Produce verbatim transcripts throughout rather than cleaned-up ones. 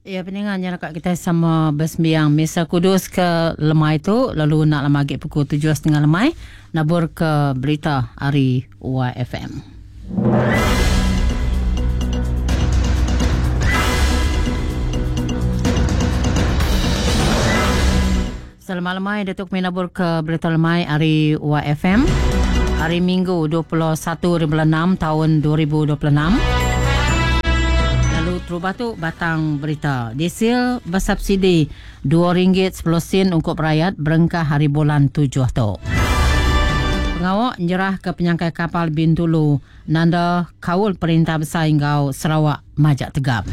Ya, peningannya dekat kita sama bersembiang Misa Kudus ke lemai tu, lalu nak lama lagi pukul tujuh setengah lemai nabur ke berita hari Y F M. Selamat lemai Datuk kami nabur ke berita lemai hari Y F M hari Minggu dua puluh satu bulan enam tahun dua ribu dua puluh enam. Terubah tu batang berita. Diesel bersubsidi dua ringgit sepuluh sen untuk rakyat berengkah hari bulan tujuh tu. Pengawak nyerah ke penyangkai kapal Bintulu nanda kaul perintah besar hingga Sarawak majak tegap.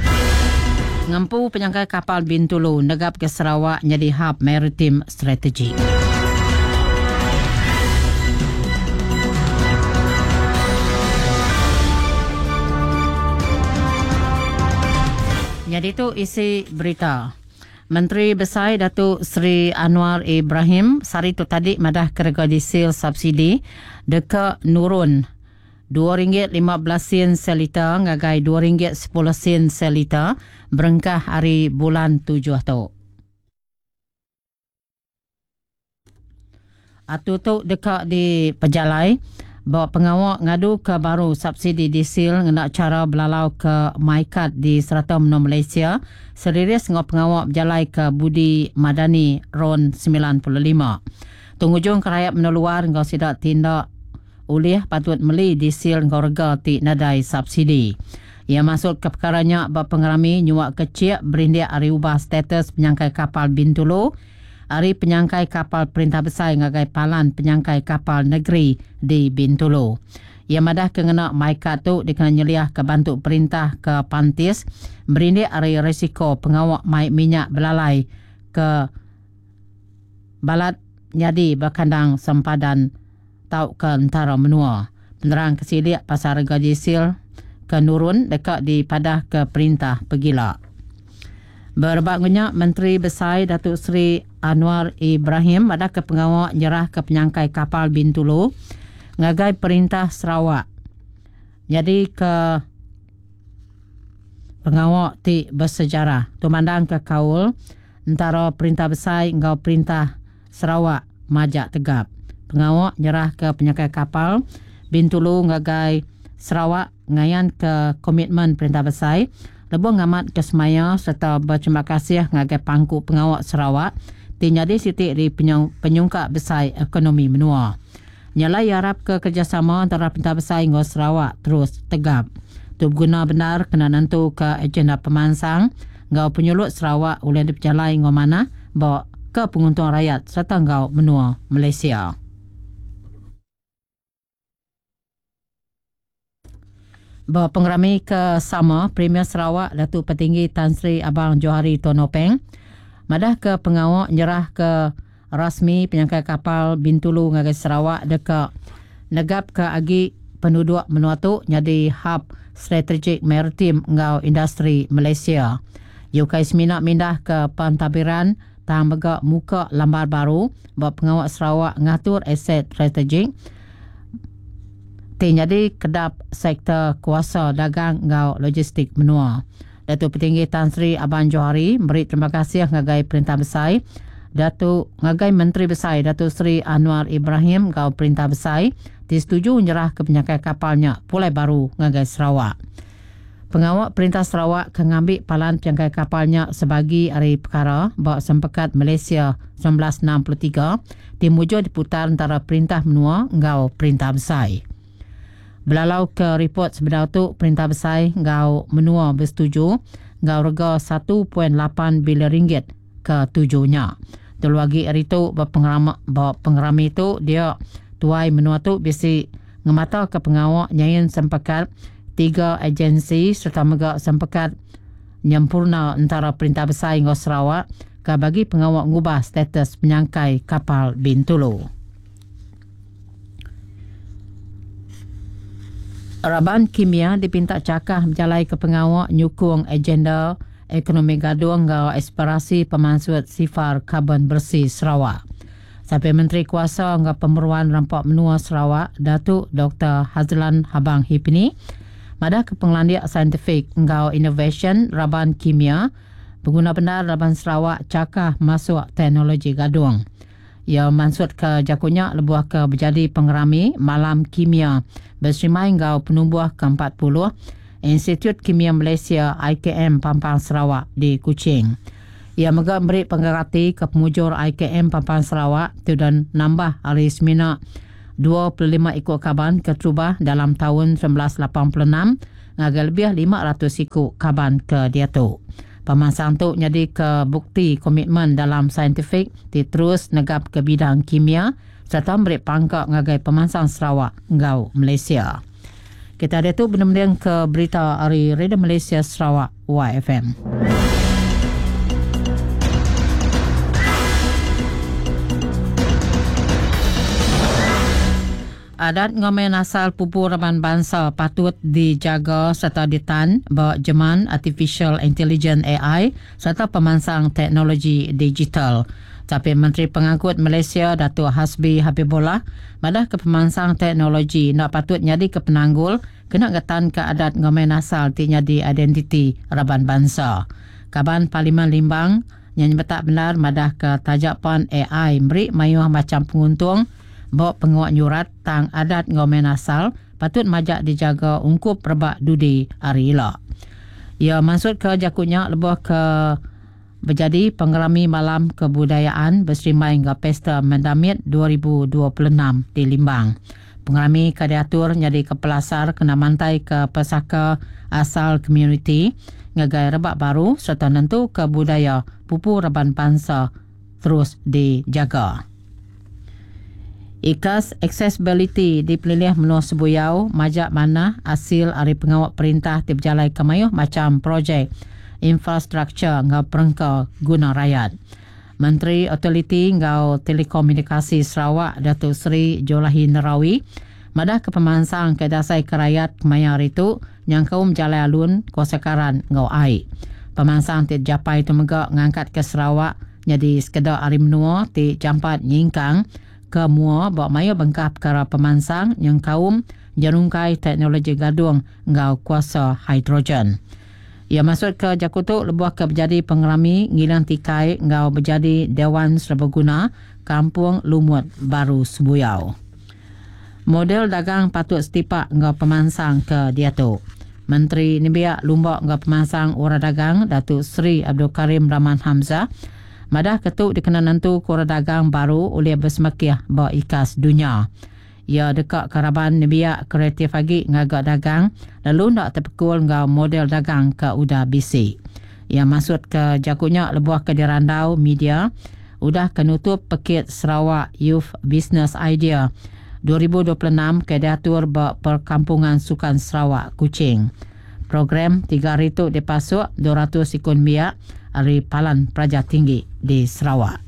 Ngempu penyangkai kapal Bintulu negap ke Sarawak jadi hub maritim strategik. Jadi itu isi berita. Menteri Besar Datuk Seri Anwar Ibrahim sehari tu tadi madah kerega diesel subsidi dekat nurun dua ringgit lima belas sen seliter ngagai dua ringgit sepuluh sen seliter berengkah hari bulan tujuh tu. Atu tu dekat di pejalai bawa pengawak ngadu ke baru subsidi diesel ngena cara belalau ke MyKad di serata menua Malaysia seriris ngau pengawak berjalai ke Budi Madani RON sembilan puluh lima. Tungujung ke rakyat menua luar ngau sidak tindak ulih patut meli diesel ngau rega ti nadai subsidi. Ia masuk ke perkaranya bab pengerami nyuak kecil berindik ari ubah status penyangkai kapal Bintulu hari penyangkai kapal perintah besar ngagai palan penyangkai kapal negeri di Bintulu. Ia madah kena MyKad tu dikena nyeliah ke bantu perintah ke Pantis berindik ari risiko pengawak mai minyak belalai ke balat nyadi berkandang sempadan tau ke antara menua. Penerang kesilik pasal harga diesel ke nurun dekat di padah ke perintah pegila. Berebak ngenyak Menteri Besar Datuk Seri Anwar Ibrahim ada ke pengawak nyerah ke penyangkai kapal Bintulu ngagai perintah Sarawak. Jadi ke pengawak ti bersejarah tumandang ke kaul antara perintah besar ngau perintah Sarawak majak tegap. Pengawak nyerah ke penyangkai kapal Bintulu ngagai Sarawak ngayan ke komitmen perintah besar lebuh ngamat ke semaya serta berterima kasih ngagai pangku pengawak Sarawak ti nyadi sitik di penyung, penyungkak besar ekonomi menua. Nyalai harap ke kerjasama antara perintah besar ngau Sarawak terus tegap. Tu berguna benar kena nentu ke agenda pemansang ngau penyulut Sarawak oleh diperjalai ngau mana bawa ke penguntung rakyat serta ngau menua Malaysia. Bawa pengerami ke sama Premier Sarawak Datuk Petinggi Tan Sri Abang Johari Tun Openg madah ke pengawak nyerah ke rasmi penyangkai kapal Bintulu ngagai Sarawak dekat negap ke agi penduduk menua tu jadi hub strategik maritim ngau industri Malaysia. Yukai semina mindah ke Pantabiran tang megak muka lambar baru bawa pengawak Sarawak ngatur aset strategik ti jadi kedap sektor kuasa dagang ngau logistik menua. Datuk Petinggi Tan Sri Abang Johari beri terima kasih ngagai perintah besar Datuk ngagai Menteri Besar Datuk Seri Anwar Ibrahim ngau perintah besar disetujui nyerah ke penyangkai kapalnya Pulai Baru ngagai Sarawak. Pengawak perintah Sarawak ke ngambil palan penyangkai kapalnya sebagi hari perkara bak Sempekat Malaysia sembilan belas enam puluh tiga dimujur diputar antara perintah menua ngau perintah besar. Belalau ke report sebenar tu perintah besar ngau menua bersetuju ngau rega satu perpuluhan lapan bilion ringgit ke tujuhnya. Dulu lagi hari tu berpengerama, berpengerami tu dia tuai menua tu bisi ngemata ke pengawak nyain sempekat tiga agensi serta megak sempekat nyempurna antara perintah besar hingga Sarawak ke bagi pengawak ngubah status penyangkai kapal Bintulu. Raban Kimia dipinta cakah berjalai ke pengawak nyukung agenda ekonomi gadung ngau aspirasi pemansut sifar karbon bersih Sarawak. Sampai Menteri Kuasa ngau Pemeruan Rampak Menua Sarawak, Datuk Doktor Hazlan Habang Hipni, madah ke penglandiak saintifik ngau innovation Raban Kimia Pengguna benar Laban Sarawak cakah masuk teknologi gadung. Ia maksud ke jakunya lebuh ke berjadi pengerami Malam Kimia berserimai ngau penumbuh ke empat puluh Institut Kimia Malaysia I K M Pampang Sarawak di Kuching. Ia mega beri penggerati ke pemujur I K M Pampang Sarawak tu dan nambah hari semina dua puluh lima ikut kaban keterubah dalam tahun seribu sembilan ratus lapan puluh enam ngagai lebih lima ratus ikut kaban ke dia tu. Pemasang tu jadi ke bukti komitmen dalam saintifik ti terus negap ke bidang kimia serta beri pangkak ngagai pemasang Sarawak ngau Malaysia. Kita ada tu benar-benar ke berita hari Radio Malaysia Sarawak Y F M. Adat ngomen asal pupu raban bangsa patut dijaga serta ditan ba jeman artificial intelligence A I serta pemansang teknologi digital. Tapi Menteri Pengangkut Malaysia Datuk Hasbi Habibullah madah ke pemansang teknologi nak patut nyadi ke penanggul kena getan ke adat ngomen asal ti nyadi identiti raban bangsa. Kaban Parlimen Limbang yang nyemetak benar madah ke tajapan A I meri mayuh macam penguntung bawa penguat nyurat tang adat ngomen asal patut majak dijaga ungkup rebak dudi hari ila. Ia maksud ke jakunya lebuh ke berjadi pengerami malam kebudayaan berserimai hingga Pesta Mendamit dua ribu dua puluh enam di Limbang. Pengerami kadiatur jadi ke pelasar kena mantai ke pesaka asal komuniti ngagai rebak baru serta nentu ke budaya pupu raban bangsa terus dijaga. Ikas accessibility di pelilih menua Sebuyau majak mana hasil ari pengawak perintah ti berjalai ke mayuh macam projek infrastruktur ngau perengka guna rakyat. Menteri Utiliti ngau Telekomunikasi Sarawak Datuk Seri Julaihi Narawi madah ke pemansang ke dasai ke rakyat kemaya hari tu nyangkaum jalai alun kuasa karan ngau ai. Pemansang ti japai tu mega ngangkat ke Sarawak jadi sekedar ari menua ti jampat nyingkang ke mua bawa mayu bengkah perkara pemansang yang kaum jerungkai teknologi gadung ngau kuasa hidrogen. Ia masuk ke Jakutuk lebuh ke berjadi pengerami ngilang tikai ngau berjadi Dewan Serbaguna Kampung Lumut Baru Sebuyau. Model dagang patut setipak ngau pemansang ke dia tu. Menteri Nembiak Lumbak ngau pemansang orang dagang Datuk Seri Abdul Karim Rahman Hamzah madah ketuk dikena nentu kura dagang baru oleh bersemekiah ba ikas dunia. Ia dekat karaban nembiak kreatif lagi ngagak dagang lalu nak terpekul ngau model dagang ke udah bisi. Ia masuk ke jakunya lebuh ke dirandau media udah kenutup pekit Sarawak Youth Business Idea dua ribu dua puluh enam ke diatur ba perkampungan Sukan Sarawak Kuching. Program tiga hari tu dipasuk dua ratus ikon biak dari Palan Pelajar Tinggi di Sarawak.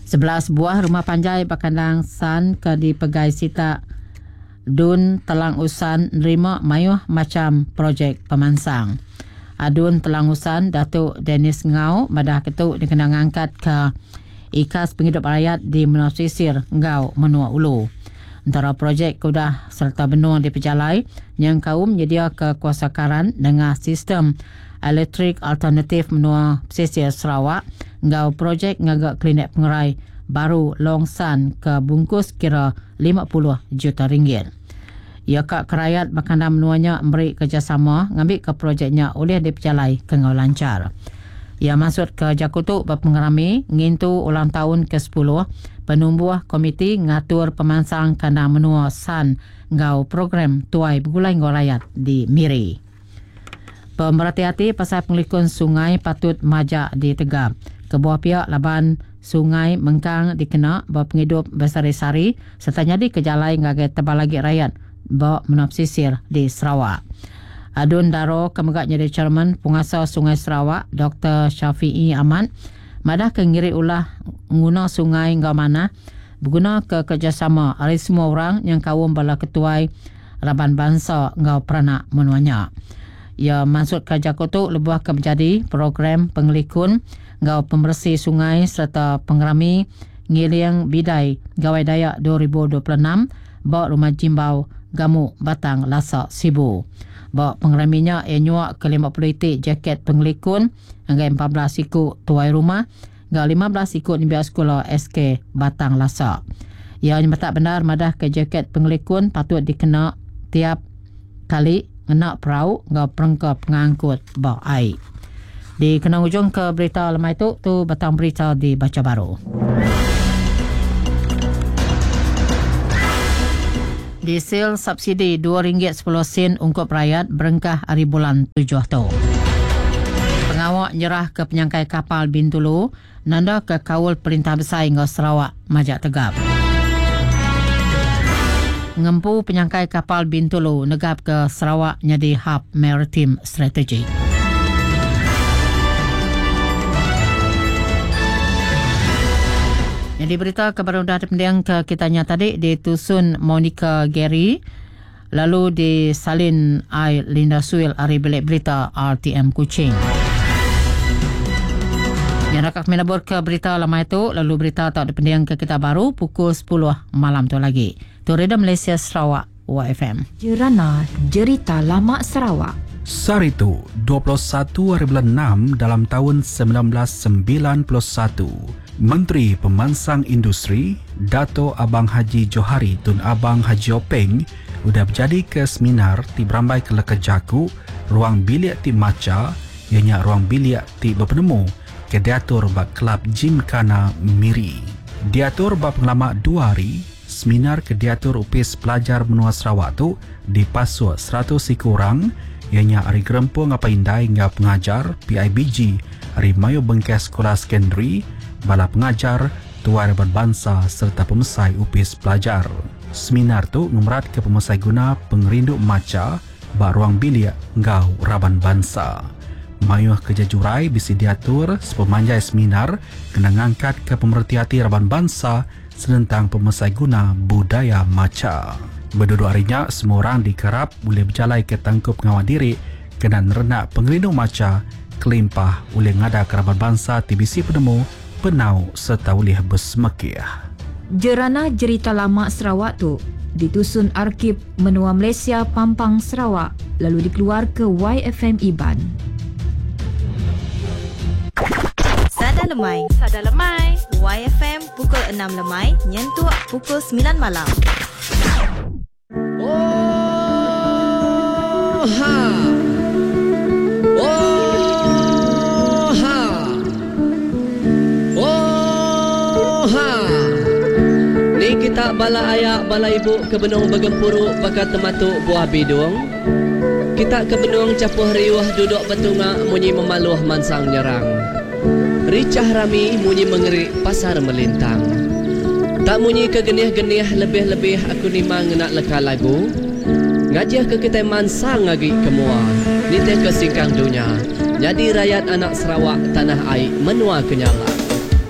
Sebelas buah rumah panjai Bakandang San ke dipegai sita Dun Telang Usan nerima mayuh macam projek pemansang. Adun Telang Usan Datuk Dennis Ngau madah ketuk dikena ngangkat ke ikas penghidup rakyat di Menua Sisir Ngau Menua Ulu. Antara projek kudah serta benua di pejalai yang kaum nyedia ke kuasa karan dengan sistem elektrik alternatif menua pesisir Sarawak ngau projek ngagak klinik pengerai baru Long San ke bungkus kira lima puluh juta ringgit. Ia kak kerayat makanan menuanya beri kerjasama ngambil ke projeknya oleh dipejalai ke ngau lancar. Ia masuk ke Jakutuk berpengerami ngintu ulang tahun ke sepuluh penumbuh komiti ngatur pemansang kandang menua San ngau program tuai bergulai ngau rakyat di Miri. Pemerhati hati pasal pengelikun sungai patut majak ditegap. Kebuah pihak laban sungai mengkang dikena bawa penghidup besari-sari serta nyadi ke jalai ngagai tebal lagi rakyat bawa menua pesisir di Sarawak. Adun Daro kemegak jadi chairman Penguasa Sungai Sarawak Doktor Syafiee Ahmad madah ke ngiri ulah nguna sungai ngau mana berguna ke kerjasama ari semua orang yang kaum bala ketuai raban bangsa ngau peranak menuanya. Ia masuk ke Jakutuk lebuh ke menjadi program pengelikun ngau pembersih sungai serta pengerami ngiling bidai Gawai Dayak dua ribu dua puluh enam bawa rumah Jimbau Gamu Batang Lasa Sibu. Ba pengeraminya ia nyuak ke lima puluh itik jaket pengelikun hingga empat belas ikut tuai rumah hingga lima belas ikut nembiak sekolah S K Batang Lasa. Ia nyemetak benar madah ke jaket pengelikun patut dikena tiap kali ngena perahu ngau perengka pengangkut ba ai. Di kena ujung ke berita lemai tu, tu batang berita dibaca baru. Diesel subsidi dua ringgit sepuluh sen ungkup rakyat berengkah hari bulan tujuh tu. Pengawak nyerah ke penyangkai kapal Bintulu, nanda ke kaul Perintah Besar hingga Sarawak majak tegap. Ngempu penyangkai kapal Bintulu negap ke Sarawak jadi hub maritim strategik. Jadi berita kebaru dah terpendiang ke kitanya tadi ditusun Monica Gary lalu disalin I Linda Suil ari bilik berita R T M Kuching. Yang rakak menabur ke berita lama itu lalu berita tak dipendiang ke kita baru pukul sepuluh malam tu lagi. Tu Radio Malaysia Sarawak Y F M. Jerana Jerita Lama Sarawak. Saritu dua puluh satu hari bulan enam dalam tahun sembilan belas sembilan puluh satu. Menteri Pemansang Industri Dato Abang Haji Johari Tun Abang Haji Openg udah berjadi ke seminar ti berambai ke leka jaku ruang bilik ti maca ianya ruang bilik ti berpenemu ke diatur ba Kelab Gymkhana Miri. Diatur ba pengelama dua hari, seminar ke diatur Upis Pelajar Menua Sarawak tu dipasuk seratus siku orang ianya ari Gerempung Apa Indai ngau Pengajar P I B G ari Mayu Bengkes Sekolah Secondary, bala pengajar, tuai berbangsa serta pemesai Upis Pelajar. Seminar tu ngemerat ke pemesai guna pengerindu maca ba ruang bilik ngau raban bangsa. Mayuh kerja jurai bisi diatur sepemanjai seminar kena ngangkat ke pemerhati hati raban bangsa senentang pemesai guna budaya maca. Berduduk harinya, semua orang dikerap boleh berjalai ke tangkup pengawal diri kena nerenak pengerindu maca kelimpah oleh ngada kerabat bangsa T B C penemu penau serta boleh bersemekiah. Jerana Jerita Lama Sarawak tu ditusun Arkib Menua Malaysia Pampang Sarawak lalu dikeluar ke Y F M Iban. Sada Lemai. Sada Lemai. Y F M pukul enam lemai nyentuk pukul sembilan malam. Oh ha. Oh ha. Oh ha. Ni kita bala ayak bala ibu ke benung bergempuruk bakal tematuk buah bidung. Kita ke benung capuh riuh duduk betunga munyi memaluh mansang nyerang. Ricah rami munyi mengerik pasar melintang. Tak munyi ke genih-genih lebih-lebih aku nimang nak leka lagu. Ngajiah ke kita mansang lagi ke mua. Nitih ke singkang dunia. Jadi rakyat anak Sarawak tanah air menua kenyala.